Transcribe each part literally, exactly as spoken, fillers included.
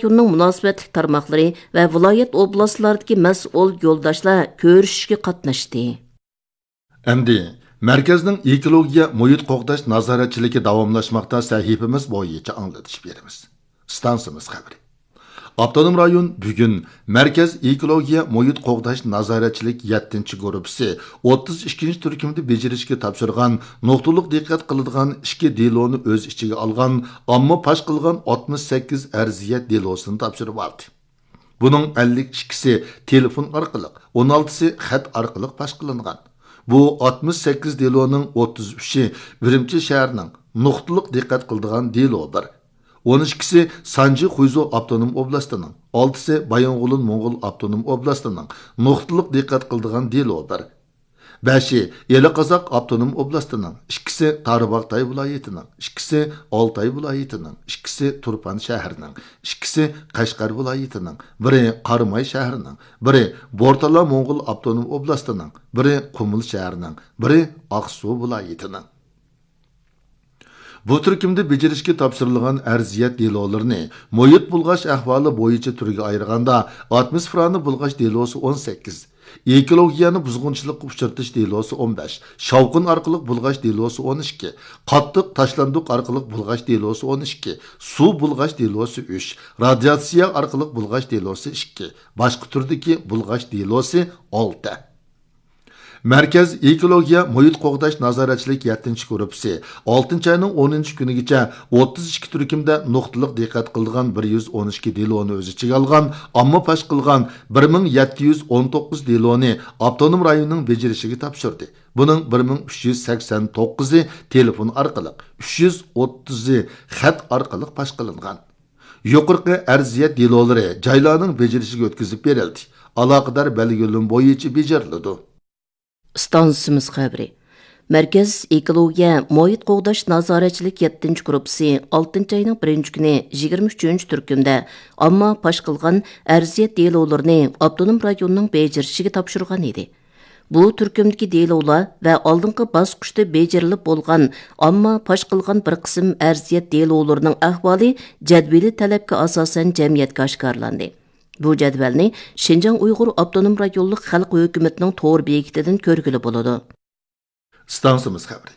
ئاپتونوم رايوننىڭ مۇناسىۋەتلىك تارماقلىرى ۋە ۋىلايەت، ئوبلاستلاردىكى مەسئۇل يولداشلار كۆرۈشۈشكە قاتناشتى. ئەمدى مەركەزنىڭ ئېكولوگىيە مۇھىت قوغداش نازارەتچىلىكى داۋاملاشماقتا سەھىپىمىز بويىچە ئاڭلىتىش بېرىمىز. ئىستانسىمىز خەۋىرى. ئاپتونوم رايون بۈگۈن مەركەز ئېكولوگىيە مۇھىت قوغداش نازارەتچىلىك يەتتىنچى گۇرۇپپىسى ئوتتۇز ئىككىنچى تۈركۈمدە بېجىرىشكە تاپشۇرغان نۇقتىلىق دىققەت قىلىدىغان ئىككى دېلونى ئۆز ئىچىگە ئالغان ئامما پاش قىلغان ئاتمىش سەككىز ئەرزىيەت دېلوسىنى تاپشۇرۇۋالدى. بۇنىڭ ئەللىك ئىككىسى تېلېفون ئارقىلىق، ئون ئالتىسى خەت ئارقىلىق پاش قىلىنغان. بۇ ئاتمىش سەككىز دېلونىڭ ئوتتۇز ئۈچى ئۈرۈمچى شەھىرىنىڭ نۇقتىلىق دىققەت قىلىدىغان دېلو بىر، ئون ئىككىسى سانجى خۇيزۇ ئاپتونوم ئوبلاستىنىڭ، ئالتىسى بايىنغولىن موڭغۇل ئاپتونوم ئوبلاستىنىڭ نۇقتىلىق دىققەت قىلىدىغان دېلو بىر، بەشى ئىلى قازاق ئاپتونوم ئوبلاستىنىڭ، ئىككىسى تارباغاتاي ۋىلايىتىنىڭ، ئىككىسى ئالتاي ۋىلايىتىنىڭ، ئىككىسى تۇرپان شەھىرىنىڭ، ئىككىسى قەشقەر ۋىلايىتىنىڭ، بىرى قاراماي شەھىرىنىڭ، بىرى بورتالا موڭغۇل ئاپتونوم ئوبلاستىنىڭ، بىرى قۇمۇل شەھىرىنىڭ، بىرى ئاقسۇ ۋىلايىتىنىڭ. بۇ تۈركۈمدە بېجىرىشكە تاپشۇرۇلغان ئەرزىيەت دېلولىرىنى مۇھىت بۇلغاش ئەھۋالى بويىچە تۈرگە ئايرىغاندا، ئاتموسفېرانى بۇلغاش دېلوسى ئون سەككىز، ئېكولوگىيەنى بۇزغۇنچىلىققا ئۇچرىتىش دېلوسى ئون بەش، شاۋقۇن ئارقىلىق بۇلغاش دېلوسى ئون ئىككى، قاتتىق تاشلاندۇق ئارقىلىق بۇلغاش دېلوسى ئون ئىككى، سۇ بۇلغاش دېلوسى ئۈچ، رادىياتسىيە ئارقىلىق بۇلغاش دېلوسى ئىككى، باشقا تۈردىكى بۇلغاش دېلوسى ئالتە. مەركەز ئېكولوگىيە مۇھىت قوغداش نازارەتچىلىك يەتتىنچى گۇرۇپپىسى ئالتىنچى ئاينىڭ ئونىنچى كۈنىگىچە ئوتتۇز ئىككى تۈركۈمدە نۇقتىلىق دىققەت قىلىدىغان بىر يۈز ئون ئىككى دېلونى ئۆز ئىچىگە ئالغان، ئامما پاش قىلغان بىر مىڭ يەتتە يۈز ئون توققۇز دېلونى ئاپتونوم رايوننىڭ بېجىرىشىگە تاپشۇردى. بۇنىڭ بىر مىڭ ئۈچ يۈز سەكسەن توققۇزى تېلېفون ئارقىلىق، ئۈچ يۈز ئوتتۇزى خەت ئارقىلىق پاش قىلىنغان. يۇقىرىقى ئەرزىيەت دېلولىرى جايلارنىڭ بېجىرىشىگە ئۆتكۈزۈپ بېرىلدى. ئالاقىدار بەلگىلىمە بويىچە بېجىرىلىدۇ. ئىستانسىمىز خەۋىرى. مەركەز ئېكولوگىيە مۇھىت قوغداش نازارەتچىلىك يەتتىنچى گۇرۇپپىسى ئالتىنچى ئاينىڭ بىرىنچى كۈنى يىگىرمە ئۈچىنچى تۈركۈمدە ئامما پاش قىلغان ئەرزىيەت دېلولىرىنى ئاپتونوم رايوننىڭ بېجىرىشىگە تاپشۇرغان ئىدى. بۇ تۈركۈمدىكى دېلولار ۋە ئالدىنقى باسقۇچتا بېجىرىلىپ بولغان ئامما پاش قىلغان بىر قىسىم ئەرزىيەت دېلولىرىنىڭ ئەھۋالى جەدۋىلىي تەلەپكە ئاساسەن جەمئىيەتكە ئاشكارىلاندى. بۇ جەدۋەلنى شىنجاڭ ئۇيغۇر ئاپتونوم رايونلۇق خەلق ھۆكۈمىتىنىڭ تور بېكىتىدىن كۆرگىلى بولىدۇ. ئىستانسىمىز خەۋىرى.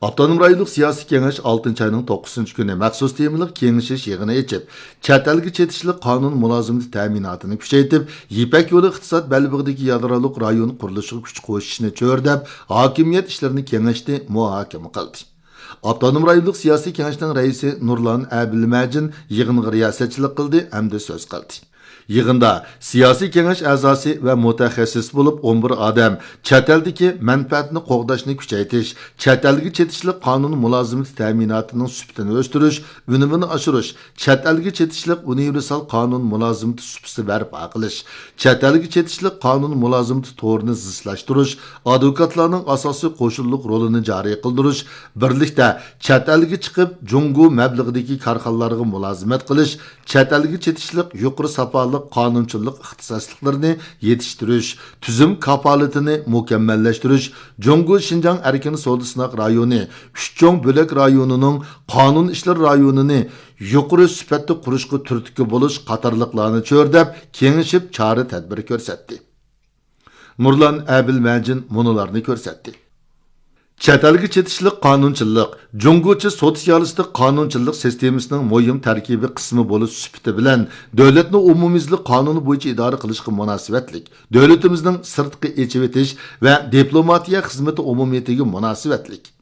ئاپتونوم رايونلۇق سىياسىي كېڭەش ئالتىنچى ئاينىڭ توققۇزىنچى كۈنى مەخسۇس تېمىلىق كېڭىشىش يىغىنى ئېچىپ، چەت ئەلگە چېتىشلىق قانۇن مۇلازىمىتى تەمىناتىنى كۈچەيتىپ، يىپەك يولى ئىقتىساد بەلبېغىدىكى يادرولۇق رايون قۇرۇلۇشىغا كۈچ قوشۇشنى چۆرىدەپ، ھاكىمىيەت ئىشلىرىنى كېڭەشتى، مۇھاكىمە قىلدى. ئاپتونوم رايونلۇق سىياسىي كېڭەشنىڭ رەئىسى نۇرلان ئەبىلمەجىن يىغىنغا رىياسەتچىلىك قىلدى ھەمدە سۆز قىلدى. يىغىندا سىياسىي كېڭەش ئەزاسى ۋە مۇتەخەسسىس بولۇپ ئون بىر ئادەم چەت ئەلدىكى مەنپەئەتنى قوغداشنى كۈچەيتىش، چەت ئەلگە چېتىشلىق قانۇن مۇلازىمىتى تەمىناتىنىڭ سۈپىتىنى ئۆستۈرۈش، ئۈنۈمىنى ئاشۇرۇش، چەت ئەلگە چېتىشلىق ئۇنىۋېرسال قانۇن مۇلازىمىتى سۇپىسى بەرپا قىلىش، چەت ئەلگە چېتىشلىق قانۇن مۇلازىمىتى تورىنى زىچلاشتۇرۇش، ئادۋوكاتلارنىڭ ئاساسىي قوشۇنلۇق رولىنى جارى قىلدۇرۇش، بىرلىكتە چەت ئەلگە چىقىپ، جۇڭگو مەبلىغىدىكى كارخانىلارغا مۇلازىمەت قىلىش، چەت ئەلگە چېتىشلىق يۇقىرى ساپالىق قانۇنچىلىق ئىختىساسلىقلىرىنى يېتىشتۈرۈش، تۈزۈم كاپالىتىنى مۇكەممەللەشتۈرۈش، جۇڭگو شىنجاڭ ئەركىن سودا سىناق رايونى، ئۈچ چوڭ بۆلەك رايونىنىڭ قانۇن ئىشلىرى رايونىنى يۇقىرى سۈپەتتە قۇرۇشقا تۈرتكە بولۇش قاتارلىقلارنى چۆرىدەپ، كېڭىشىپ چارە تەدبىر كۆرسەتتى. نۇرلان ئەبىلمەجىن مۇنۇلارنى كۆرسەتتى. چەت ئەلگە چېتىشلىق قانۇنچىلىق جۇڭگوچە سوتسىيالىستىك قانۇنچىلىق سىستېمىسىنىڭ مۇھىم تەركىبىي قىسمى بولۇش سۈپىتى بىلەن، دۆلەتنى ئومۇميۈزلۈك قانۇن بويىچە ئىدارە قىلىشقا مۇناسىۋەتلىك، دۆلىتىمىزنىڭ سىرتقى ئېچىۋېتىش ۋە دىپلوماتىيە خىزمىتى ئومۇمىيىتىگە مۇناسىۋەتلىك،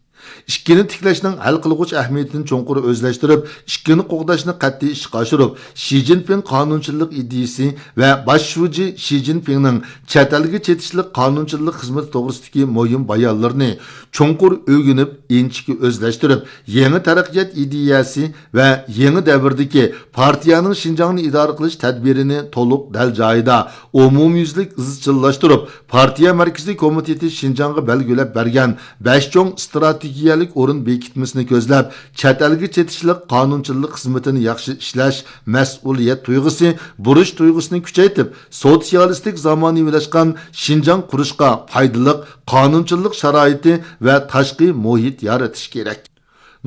ئىككىنى تىكلەشنىڭ ھەل قىلغۇچ ئەھمىيىتىنى چوڭقۇر ئۆزلەشتۈرۈپ، ئىككىنى قوغداشنى قەتئىي ئىشقا ئاشۇرۇپ، شى جىنپىڭ قانۇنچىلىق ئىدىيىسى ۋە باش شۇجى شى جىنپىڭنىڭ چەت ئەلگە چېتىشلىق قانۇنچىلىق خىزمىتى توغرىسىدىكى مۇھىم بايانلىرىنى چوڭقۇر ئۆگىنىپ، ئىنچىكە ئۆزلەشتۈرۈپ، يېڭى تەرەققىيات ئىدىيەسى ۋە يېڭى دەۋردىكى پارتىيەنىڭ شىنجاڭنى ئىدارە قىلىش تەدبىرىنى تولۇق دەل جايىدا ئومۇميۈزلۈك ئىزچىللاشتۇرۇپ، پارتىيە مەركىزىي كومىتېتى شىنجاڭغا بەلگىلەپ بەرگەن بەش چوڭ ئىستراتېگىيەلىك ئورۇن بېكىتمىسىنى كۆزلەپ، چەت ئەلگە چېتىشلىق قانۇنچىلىق خىزمىتىنى ياخشى ئىشلەش مەسئۇلىيەت تۇيغۇسى، بۇرچ تۇيغۇسىنى كۈچەيتىپ، سوتسىيالىستىك زامانىۋىلاشقان شىنجاڭ قۇرۇشقا پايدىلىق قانۇنچىلىق شارائىتى ۋە تاشقى مۇھىت يارىتىش كېرەك.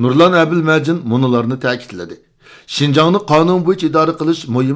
نۇرلان ئەبىلمەجىن مۇنۇلارنى تەكىتلىدى. شىنجاڭنى قانۇن بويىچە ئىدارە قىلىش مۇھىم